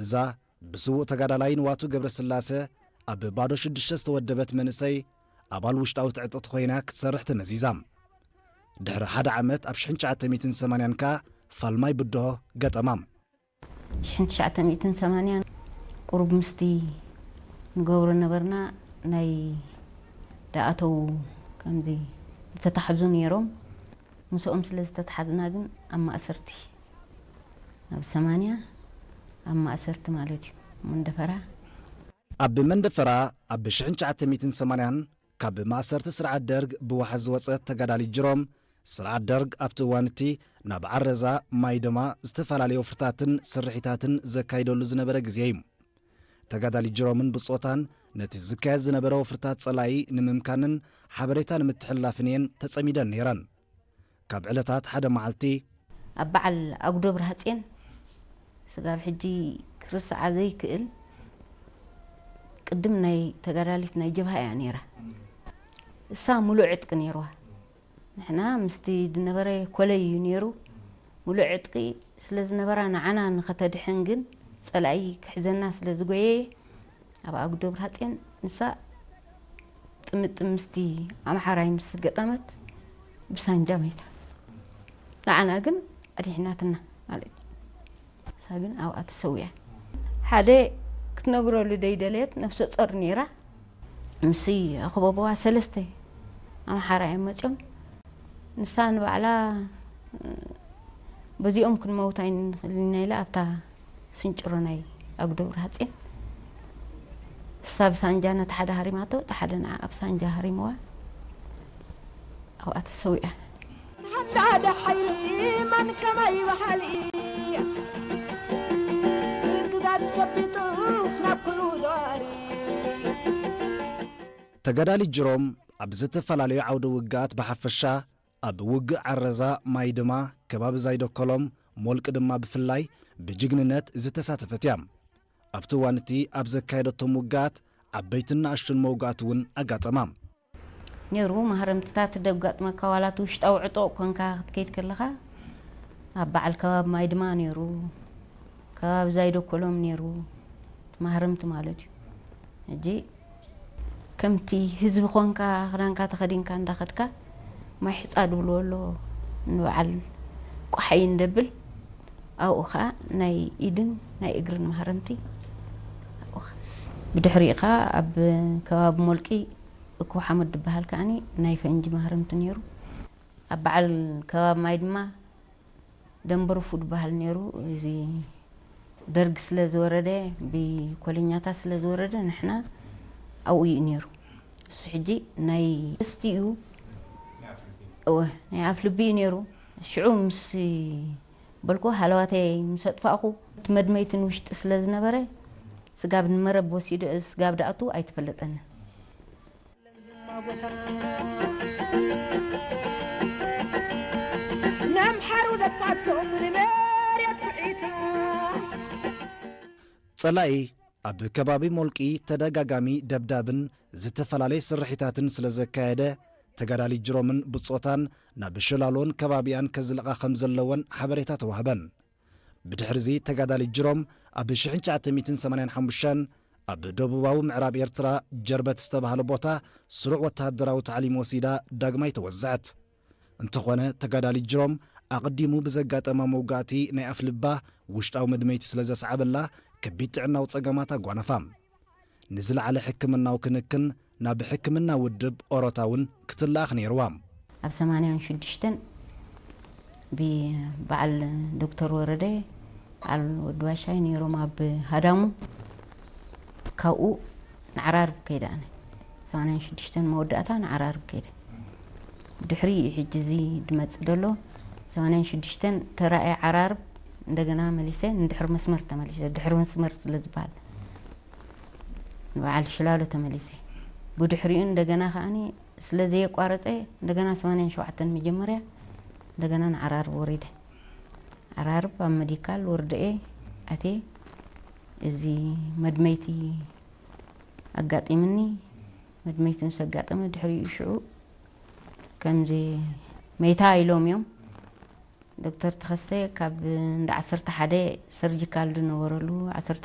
እዛ ብስዉእ ተጋዳላይ ንዋቱ ገብረስላሰ ኣብ ባዶ ሽዱሽተ ዝተወደበት መንእሰይ ኣባል ውሽጣዊት ዕጥቕቲ ኮይና ክትሰርሕ ተመዚዛ። ድሕሪ ሓደ ዓመት ኣብ ሽሕን ትሽዓተ ሚእትን ሰማንያን ከኣ ፋልማይ ብድሆ ገጠማ። ሽሕን ትሽዓተ ሚእትን ሰማንያን ቁሩብ ምስቲ ንገብሮ ነበርና ናይ ደኣተው ከምዚ ዝተታሕዙ ነይሮም። ምስኦም ስለ ዝተታሓዝና ግን ኣብ ማእሰርቲ ኣብ ሰማንያ ኣብ ማእሰርቲ ማለት እዩ መንደፈራ። ኣብ መንደፈራ ኣብ ሽሕን ትሽዓተ ሚእትን ሰማንያን ካብ ማእሰርቲ ስርዓት ደርግ ብዋሕዚ ዝወጸት ተጋዳሊት ጅሮም፣ ስርዓት ደርግ ኣብቲ እዋን እቲ ናብ ዓረዛ ማይ ድማ ዝተፈላለዩ ወፍርታትን ስርሒታትን ዘካይደሉ ዝነበረ ግዜ እዩ። ተጋዳሊት ጅሮምን ብጾታን ነቲ ዝካየድ ዝነበረ ወፍርታት ጸላኢ ንምምካንን ሓበሬታ ንምትሕልላፍን እየን ተጸሚደን ነይረን። ካብ ዕለታት ሓደ መዓልቲ ኣብ በዓል ኣጉዶ ብርሃጼን ስጋብ ሕጂ ክርስዓ ዘይክእል ቅድም ናይ ተጋዳሊት ናይ ጀብሃ እያ ነይራ። እሳ ሙሉእ ዕጥቂ ነይርዋ። ንሕና ምስቲ ዝነበረ ኮለይ እዩ ነይሩ። ሙሉእ ዕጥቂ ስለ ዝነበራ ንዓና ንኸተድሕን ግን ጸላኢ ክሕዘና ስለ ዝጎየየ ኣብ ኣጉዶ ብርሃጼን ንሳ ጥምጥም ምስቲ ኣምሓራይ ምስ ገጠመት ብሳንጃ መይታ። ንዓና ግን ኣድሒናትና ማለት እዩ። ንሳ ግን ኣብኣ ተሰዊኣ። ሓደ ክትነግረሉ ደይደለየት ነፍሰ ጾር ነይራ። ምስይ ኣኽበብዋ ሰለስተ ኣምሓራ እዮም መፅዮም። ንሳ ንባዕላ በዚኦም ክንመውት ኣይንኽእልን ኢና ኢላ ኣብታ ስንጭሮ ናይ ኣጉዶ ብርሃጼን እሳ ብሳንጃ ነቲ ሓደ ሃሪማቶ፣ እቲ ሓደ ንዓ ኣብ ሳንጃ ሃሪምዋ ኣብኣ ተሰዊኣ። ተሓላደ ሓይሊ መን ከማይ በሃሊ ግዳጅ ጨቢጡ ናብ ኩሉ ዘዋሪ። ተጋዳሊት ጅሮም ኣብ ዝተፈላለዩ ዓውደ ውግኣት ብሓፈሻ ኣብ ውግእ ዓረዛ ማይ ድማ ከባቢ ዛይደኮሎም ሞልቂ ድማ ብፍላይ ብጅግንነት ዝተሳተፈት እያ። ኣብቲ እዋን እቲ ኣብ ዘካየደቶም ውግኣት ዓበይትን ንኣሽቱን መውጋእቲ እውን ኣጋጠማ። ነይሩ ማህረምትታት ደጋጥመካ ዋላ እቲ ውሽጣዊ ዕጡቕ ኮንካ ክትከይድ ከለኻ ኣብ በዓል ከባቢ ማይ ድማ ነይሩ ከባቢ ዛይደኮሎም ነይሩ እቲ ማህረምቲ ማለት እዩ። ሕጂ ከምቲ ህዝቢ ኾንካ ክዳንካ ተኸዲንካ እንዳኸድካ ማይ ሕፃ ድብልዎ ኣሎ ንበዓል ቋሓይ እንደብል ኣብኡ ኸዓ ናይ ኢድን ናይ እግርን ማህረምቲ ኣብኡ ኸዓ። ብድሕሪኡ ኸዓ ኣብ ከባቢ ሞልቂ እኩብ ሓመድ ዝበሃል ከዓኒ ናይ ፈንጂ ማህረምቲ ነይሩ። ኣብ በዓል ከባቢ ማይ ድማ ደንበርፉ ዝበሃል ነይሩ። እዚ ደርግ ስለ ዝወረደ ብኮለኛታት ስለ ዝወረደ ንሕና ኣብኡ እዩ ነይሩ። እሱ ሕጂ ናይ ስቲ እዩ እወ ናይ ኣፍልቢ እዩ ነይሩ። ሽዑ ምስ በልኩ ሃለዋተይ ምስ ኣጥፋእኹ እቲ መድመይቲ ንውሽጢ ስለ ዝነበረ ስጋብ ንመረብ ወሲዱ ስጋብ ደኣቱ ኣይተፈለጠንን። ነምሓሩ ዘጥፋቶም ንመሬት ኩዒታ ጸላኢ ኣብ ከባቢ ሞልቂ ተደጋጋሚ ደብዳብን ዝተፈላለየ ስርሒታትን ስለ ዘካየደ ተጋዳሊት ጅሮምን ብጾታን ናብ ሽላሎን ከባቢኣን ከዝልቓ ከም ዘለወን ሓበሬታ ተዋህበን። ብድሕርዚ ተጋዳሊት ጅሮም ኣብ ሽሕን ትሽዓተ ሚእትን ሰማንያን ሓሙሽተን ኣብ ደቡባዊ ምዕራብ ኤርትራ ጀርበት ዝተባህለ ቦታ ስሩዕ ወተሃደራዊ ታዕሊም ወሲዳ ዳግማይ ተወዘዐት። እንተኾነ ተጋዳሊት ጅሮም ኣቐዲሙ ብዘጋጠማ መውጋእቲ ናይ ኣፍልባ ውሽጣዊ መድመይቲ ስለ ዘስዓበላ ከቢድ ጥዕናዊ ጸገማት ኣጓነፋ። ንዝለዓለ ሕክምናዊ ክንክን ናብ ሕክምና ውድብ ኦሮታ እውን ክትለኣኽ ነይርዋ። ኣብ ሰማንያን ሽዱሽተን ብበዓል ዶክተር ወረደ በዓል ወዲ ባሻይ ነይሮም ኣብ ሃዳሙ። ካብኡ ንዓራርብ ከይደ ኣነ ሰማንያን ሽዱሽተን መወዳእታ ንዓራርብ ከይደ። ብድሕሪ እዩ ሕጂ እዚ ድመጽእ ደሎ ሰማንያን ሽዱሽተን ተራእየ ዓራርብ እንደገና መሊሰ ንድሕሪ መስመር ተመሊሰ ድሕሪ መስመር ስለ ዝበሃል ንበዓል ሽላሎ ተመሊሰ። ብድሕሪኡ እንደገና ከዓኒ ስለ ዘየቋረጸ እንደገና ሰማንያን ሸውዓተን መጀመርያ እንደገና ንዓራርብ ወሪደ። ዓራርብ ኣብ መዲካል ወርደኤ ኣትየ እዚ መድመይቲ ኣጋጢምኒ። መድመይቲ ምስ ኣጋጠመ ድሕሪኡ ሽዑ ከምዚ መይታ ኢሎም እዮም። ዶክተር ተኸስተ ካብ እንዳ ዓሰርተ ሓደ ሰርጂካል ዝነበረሉ ዓሰርተ